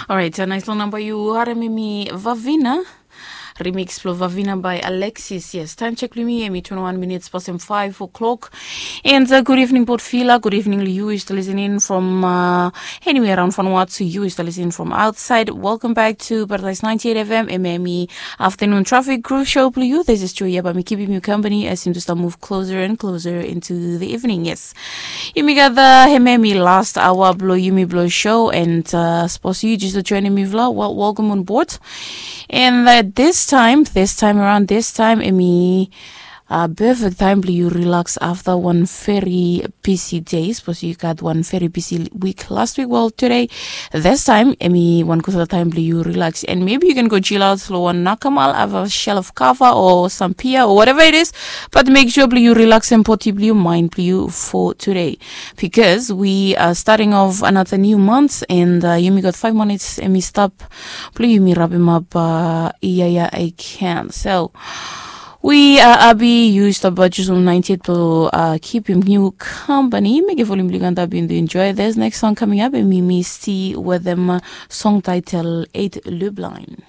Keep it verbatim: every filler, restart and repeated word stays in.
Orait, nais long namba yu harem em i Vavina. Remix blong Vavina by Alexis. Yes, taem chek blong yumi em i twenty-one minutes past em five o'clock. And uh, good evening, Port Vila. Good evening, you is listening from uh, anywhere around Vanuatu. You is listening from outside. Welcome back to Paradise ninety-eight F M, M M E Afternoon Traffic Groove Show blong yu. This is Joy Yaba. Mi keeping you company as you just move closer and closer into the evening. Yes. Yumi gat the hememi last hour blong yumi blong show and uh, suppose you just joining me vla. Well, welcome on board. And uh, this time, this time around, this time, emi uh, perfect time blong you relax after one very busy day. Suppose you got one very busy week last week. Well, today, this time, emi one good time blong you relax. And maybe you can go chill out lo one nakamal, have a shell of kava or some beer or whatever it is. But make sure blong you relax and poti blong you mind blong you for today. Because we are starting off another new month and uh, yumi got five minutes emi stap blong yumi wrap him up uh, yeah, yeah, I can. So we uh, abi yu stap uh, Jerusalem ninety-eight to uh, keep him new company. Make a volume blong you can enjoy. There's next song coming up and we may see with them uh, song title eight Lubline.